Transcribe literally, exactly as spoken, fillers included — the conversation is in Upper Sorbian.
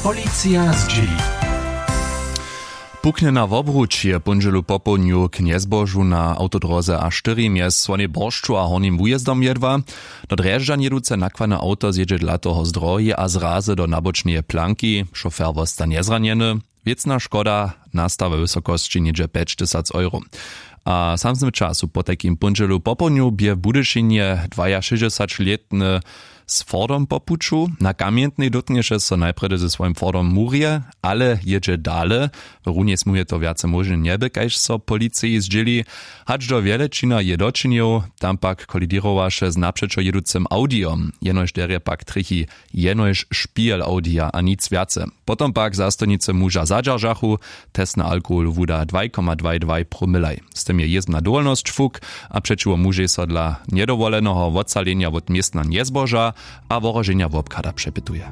Policija zdźěli. Puknjena wobruč je póndźelu popołdnju k njezbožu na awtodróze a štyri mjez słonej boršću a hornim wujězdom jedła. Do drježdźan jěduce nakładne awto zjědźe dla toho z drohi a zrazy do nabočneje planki. Šofer wosta njezranjeny. Wěcna škoda nasta we wysokosći něhdźe pjećtysac euro. A w samsnym času potajkim póndźelu popołdnju bě w budyšinje dwajašěsćdźesaćlětny z fordom po puću. Na kamjentnej dótknješe so najprjedy ze swojim fordom murje, ale jědźe dale. W runjej smujej to wjace móžne njeby, kaž so policiji zdźěli. Hač do wjelečina je dočinił, tam pak kolidirowaše z napřećo jěducym awdijom. Jenož derje pak trjechi jenož špijel awdija a nic wjace. Potom pak zastojnicy muža zadźeržachu. Test na alkohol wuda dwaj koma dwaj dwaj promilaj. Z tym je jězbna dowolnosć fuk a přećiwo mužej so dla njedowoleneho wotsalenja wot městna njezboža a wohroženja wobchada přepytuje.